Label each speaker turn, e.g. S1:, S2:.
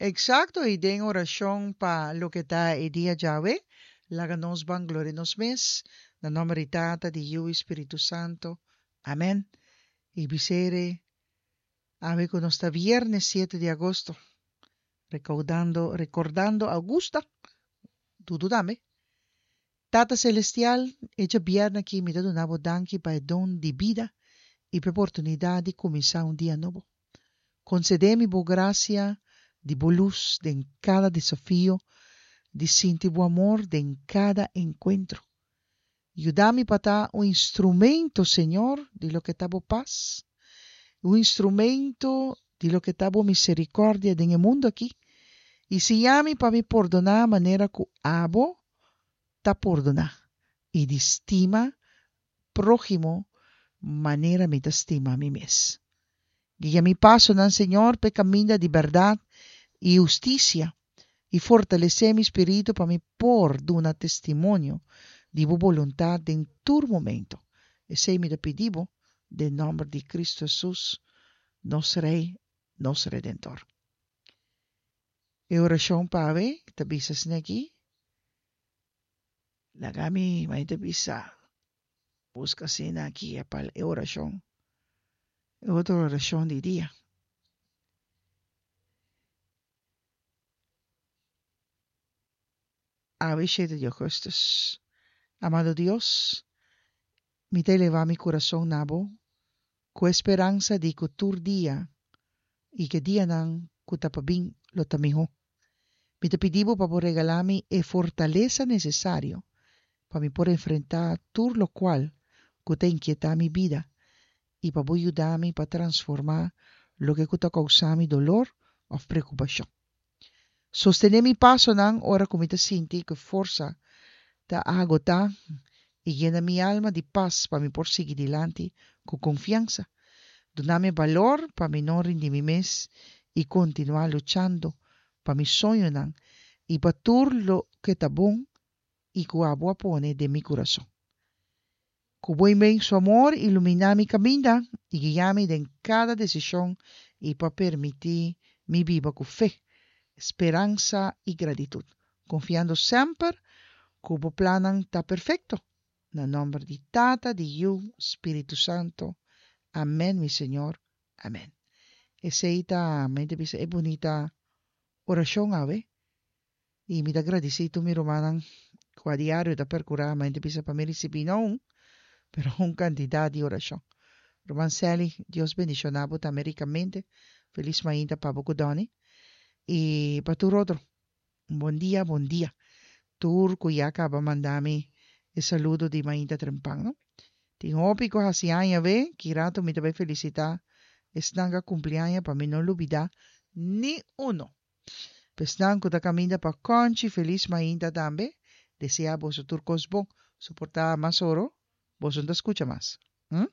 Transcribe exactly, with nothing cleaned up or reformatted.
S1: Eksakto, i den orashon pa loke ta e dia djawe, laga nos ban gloria nos mes, na nòmber di Tata, di Yu i Spiritu Santu. Amèn. I bisere awe ku nos ta viernes siete di agosto, rekoudando, rekordando Augusta, Dudu tambe. Tata Selestial, e djabièrnè akí mi ta duna Bo danki pa e don di bida i pa e oportunidat di kuminsá un dia nobo. Konsedé mi Bo grasia di Bo lus den kada desafio, di sinti Bo amor den kada enkuentro. Yuda mi pa ta un instrumento, Señor, di loke ta Bo pas, un instrumento di loke ta Bo miserikòrdia den e mundu akí, i siña mi pa mi pordoná manera ku Abo ta pordoná, i di stima próhimo manera mi ta stima mi mes. Guia mi pasonan, Señor, pa e kaminda di bèrdat i hustisia, i fortalesé mi spiritu pa mi por duna testimonio di bo boluntat den tur momento. Esei mi ta pidi bo den nòmber di Kristu Hesus, nos Rei, nos Redentor. E orashon pa awe ta bisa asina aki, Laga mi, mai ta bisa, buska asina aki e e orashon, e otro orashon di dia. Awe shete di augustus. Amado Dios, mi ta elevá mi kurason na Bo ku e speransa di ku tur dia i ku e dianan ku ta pa bin lo ta mihó. Mi ta pidi Bo pa Bo regalá mi e fortalesa nesesario pa mi por enfrentá tur lokual ku ta inkietá mi bida i pa Bo yuda mi pa transformá loke ku ta kousá mi dolor òf preokupashon. Sostené mi pasonan ora ku mi ta sinti ku e forsa ta agotá i yena mi alma di pas pa mi por sigui dilanti ku konfiansa. Duna mi e balor pa mi no rindi mi mes i kontinuá luchando pa mi soñonan i pa tur loke ta bon i ku abo a pone den mi kurason. Ku bo inmenso amor iluminá mi kaminda i guiá mi den kada desishon i pa permití mi biba ku fe, speransa i gratitut, konfiando semper ku bo plannan ta perfekto. Na nòmber di Tata, di Yu, Spiritu Santu. Amèn, mi Señor. Amèn. Esei ta, mi ta bisa, e bunita orashon awe. I mi ta gradisí tur mi rumannan ku a diario ta perkurá mi ta bisa pa mi risibí no un, pero un kantidat di orashon. Ruman Sally, Dios bendishoná bo tambe rikamente. Felis mainta pa bo ku Donny i pa tur otro. Un bon dia, bon dia. Tur ku ya kaba manda mi e saludo di mainta trempan, no? Tin hopi ku hasi aña awe, ki rato mi ta bai felisitá esnan ku a kumpli aña pa mi no lubidá ni uno. P'esnan ku ta kaminda pa Kònchi felis mainta tambe, deseá boso tur kos bon. Soportá mas oro, boso no ta skucha mas. Hm?